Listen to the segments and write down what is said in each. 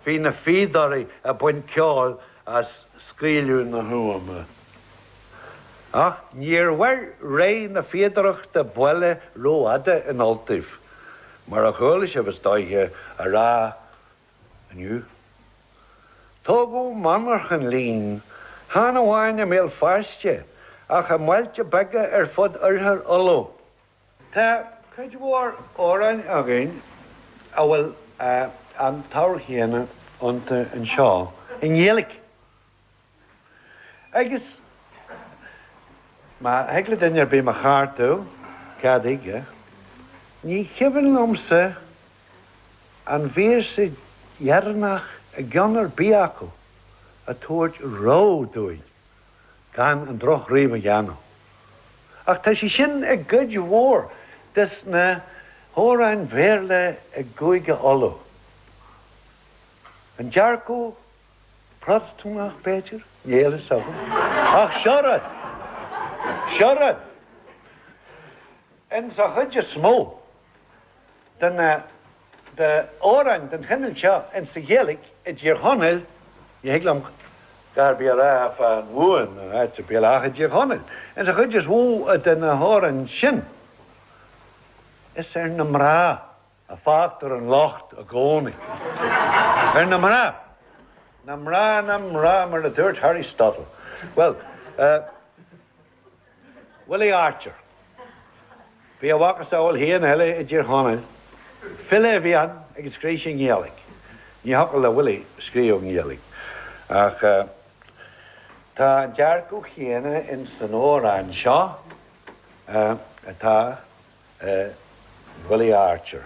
Bhí na fíodóirí ag baint ceoil as scaoileadh na huama. Ach níor mhair ré na fíodóireachta buile rófhada in Ultaibh, mar a chuala sibh, is dóiche, á rá inniu. Tógadh monarchan lín, chan amháin i mBéal Feirste, ach i mbailte beaga ar fud Oirthear Uladh. Tá cuid mhór amhráin againn a bhfuil an t-ábhar chéanna iontu anseo i nGaeilge. Agus má thig le duine ar bith mo cheartú, cad chuige, ní cuimhin liomsa an véarsa dheireanach i gceann ar bith acu ag tabhairt rabhadh dúinn gan an drochghníomh a dhéanamh. Ach tá sé sin i gcuid mhór des na hamhráin Bhéarla i gCúige Uladh. An dearcadh Protastúnach, b'fhéidir? Níl fhios agam. Ach seo rud! Seo rud! Ins an chuid is mó de na d'amhráin den chineál seo ins an Ghaeilge i dTír Chonaill, ní thig liom a dhath ar bith a rá fán Mhumhain nó áit ar bith eile ach i dTír Chonaill, ins an chuid is mó de na hamhráin sin, is ar na mná a fágtar an locht i gcónaí. Ar na mná! Na mná, na mná, mar a dúirt Harry Stuttle. Bhuel, eh, Willie Archer. Bhí a mhacasamhail féin eile i dTír Chonaill. File a bhí ann agus scríobh sé i nGaeilge. Ní thiocfadh le Willie scríobh i nGaeilge. Ach eh, tá an dearcadh chéanna ins an amhrán seo eh, atá i Willie Archer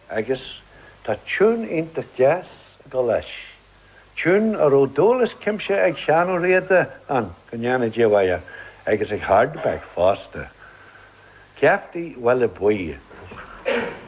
agus tá tiún iontach deas ag dul leis, tiún a raibh dúil as cuimse ag Seán Ó Riada ann, go ndéana Dia a mhaith air, agus ag Hardebec fosta. Geaftaí Bhaile Buí.